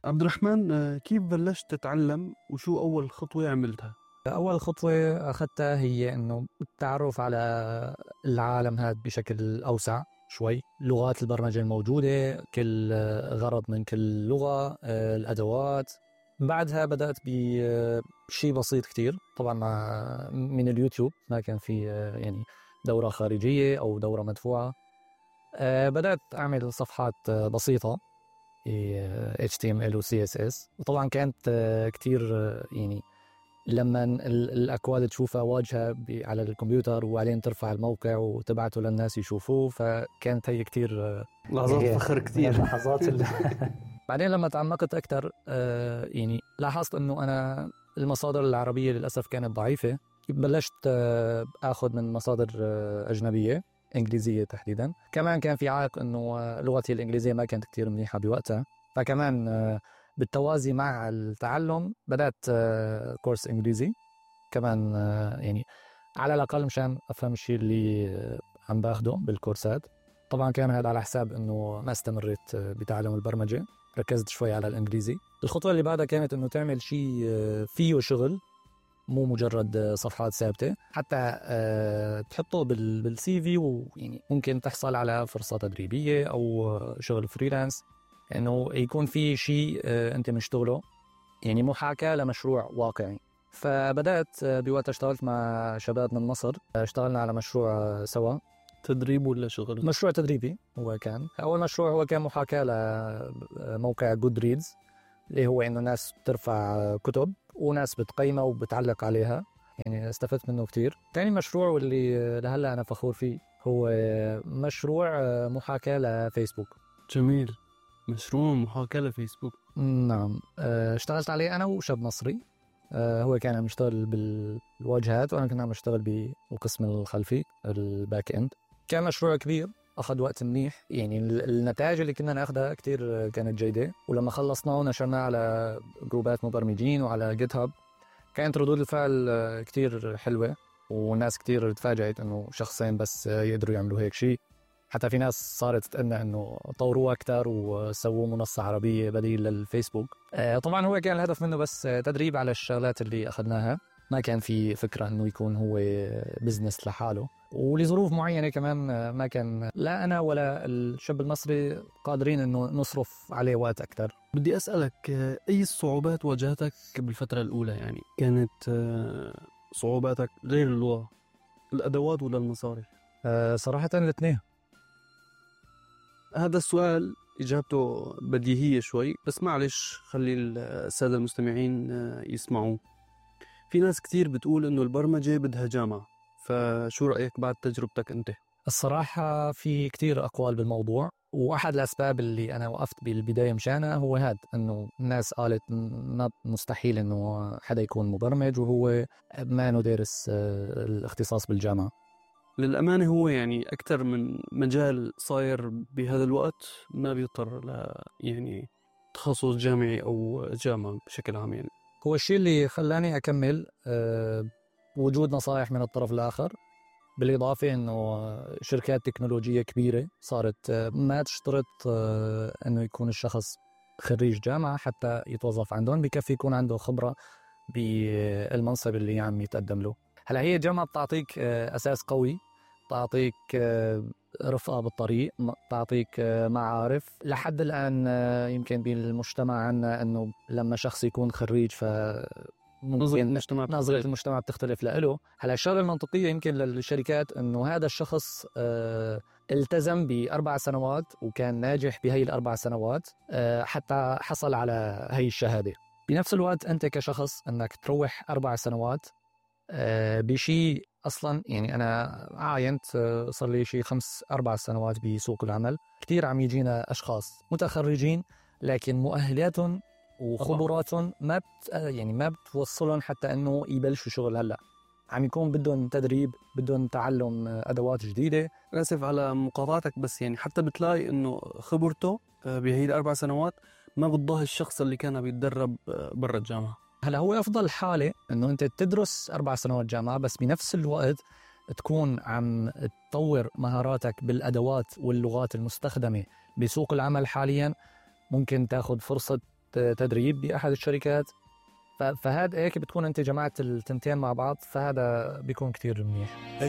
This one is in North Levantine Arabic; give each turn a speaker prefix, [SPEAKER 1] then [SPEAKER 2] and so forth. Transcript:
[SPEAKER 1] عبد الرحمن، كيف بلشت تتعلم وشو أول خطوة عملتها؟
[SPEAKER 2] أول خطوة أخذتها هي إنه التعرف على العالم هذا بشكل أوسع شوي، لغات البرمجة الموجودة، كل غرض من كل لغة، الأدوات. بعدها بدأت بشيء بسيط كتير، طبعا من اليوتيوب، ما كان في يعني دورة خارجية أو دورة مدفوعة. بدأت أعمل صفحات بسيطة HTML و CSS، وطبعا كانت كتير يعني لما الأكواد تشوفها واجهة على الكمبيوتر وبعدين ترفع الموقع وتبعته للناس يشوفوه، فكانت هي كتير
[SPEAKER 1] لحظات فخر كتير.
[SPEAKER 2] لحظات بعدين لما تعمقت أكتر يعني لاحظت أنه أنا المصادر العربية للأسف كانت ضعيفة. بلشت أخذ من مصادر أجنبية إنجليزية تحديدا. كمان كان في عائق أنه لغتي الإنجليزية ما كانت كتير منيحة بوقتها، فكمان بالتوازي مع التعلم بدأت كورس إنجليزي كمان، يعني على الأقل مشان أفهم الشيء اللي عم باخده بالكورسات. طبعا كان هذا على حساب أنه ما استمريت بتعلم البرمجة، ركزت شوي على الإنجليزي. الخطوة اللي بعدها كانت أنه تعمل شيء فيه شغل، مو مجرد صفحات ثابتة، حتى تحطه بالسي في، ويعني ممكن تحصل على فرصة تدريبية أو شغل فريلانس، إنه يكون في شيء أنت مشتغله، يعني محاكاة لمشروع واقعي. فبدأت بوقت اشتغلت مع شباب من مصر، اشتغلنا على مشروع سوا.
[SPEAKER 1] تدريب ولا شغل؟
[SPEAKER 2] مشروع تدريبي. هو كان أول مشروع، هو كان محاكاة لموقع Goodreads، اللي هو إنه ناس بترفع كتب وناس بتقيمها وبتعلق عليها، يعني استفدت منه كتير. تاني مشروع واللي لهلأ أنا فخور فيه هو مشروع محاكاة لفيسبوك.
[SPEAKER 1] جميل، مشروع محاكاة لفيسبوك.
[SPEAKER 2] نعم، اشتغلت عليه أنا وشاب مصري. هو كان عم يشتغل بالواجهات وأنا كنا عم اشتغل بالقسم الخلفي، الباك إند. كان مشروع كبير، أخذ وقت منيح، يعني النتائج اللي كنا ناخدها كتير كانت جيدة. ولما خلصناه ونشرناه على جروبات مبرمجين وعلى جيت هاب، كانت ردود الفعل كتير حلوة، والناس كتير تفاجأت إنه شخصين بس يقدروا يعملوا هيك شيء. حتى في ناس صارت تتأنى إنه طوروه أكتر وسووا منصة عربية بديل للفيسبوك. طبعا هو كان الهدف منه بس تدريب على الشغلات اللي أخذناها، ما كان في فكرة إنه يكون هو بزنس لحاله. ولظروف معينة كمان ما كان لا أنا ولا الشاب المصري قادرين إنه نصرف عليه وقت أكتر.
[SPEAKER 1] بدي أسألك، أي الصعوبات واجهتك بالفترة الأولى؟ يعني كانت صعوباتك غير اللغة، الأدوات ولا المصاري؟
[SPEAKER 2] صراحة الاثنين.
[SPEAKER 1] هذا السؤال إجابته بديهية شوي، بس معلش خلي السادة المستمعين يسمعوا. في ناس كتير بتقول إنه البرمجة بدها جامعة، فشو رأيك بعد تجربتك أنت؟
[SPEAKER 2] الصراحة في كتير أقوال بالموضوع، وأحد الأسباب اللي أنا وقفت بالبداية مشانها هو هاد، إنه الناس قالت مستحيل إنه حدا يكون مبرمج وهو ما إنه دارس الاختصاص بالجامعة.
[SPEAKER 1] للأمانة هو يعني أكتر من مجال صاير بهذا الوقت ما بيضطر يعني تخصص جامعي أو جامعة بشكل عام. يعني
[SPEAKER 2] هو الشيء اللي خلاني أكمل وجود نصائح من الطرف الآخر، بالإضافة إنه شركات تكنولوجية كبيرة صارت ما تشترط إنه يكون الشخص خريج جامعة حتى يتوظف عندهم، بكفي يكون عنده خبرة بالمنصب اللي عم يتقدم له. هلا هي الجامعة بتعطيك أساس قوي، تعطيك رفقة بالطريق، تعطيك معارف. لحد الآن يمكن بالمجتمع عنا إنه لما شخص يكون خريج نظرة المجتمع بتختلف له. هلا الشغلة المنطقية يمكن للشركات إنه هذا الشخص التزم ب4 سنوات وكان ناجح بهي ال4 سنوات حتى حصل على هي الشهادة. بنفس الوقت أنت كشخص أنك تروح 4 سنوات بشيء أصلا، يعني أنا عاينت صار لي شيء 4 سنوات بسوق العمل، كتير عم يجينا أشخاص متخرجين لكن مؤهلاتهم وخبراتهم ما بتوصلهم حتى أنه يبلشوا شغل. هلأ عم يكون بدهم تدريب، بدهم تعلم أدوات جديدة.
[SPEAKER 1] آسف على مقاطعتك، بس يعني حتى بتلاقي إنه خبرته بهي ال4 سنوات ما بتضاهي الشخص اللي كان بيتدرب برا الجامعة.
[SPEAKER 2] هلا هو أفضل حالة إنه أنت تدرس 4 سنوات جامعة، بس بنفس الوقت تكون عم تطور مهاراتك بالأدوات واللغات المستخدمة بسوق العمل حاليا. ممكن تاخد فرصة تدريب بأحد الشركات. فهذا هيك بتكون أنت جمعت التنتين مع بعض، فهذا بيكون كتير منيح.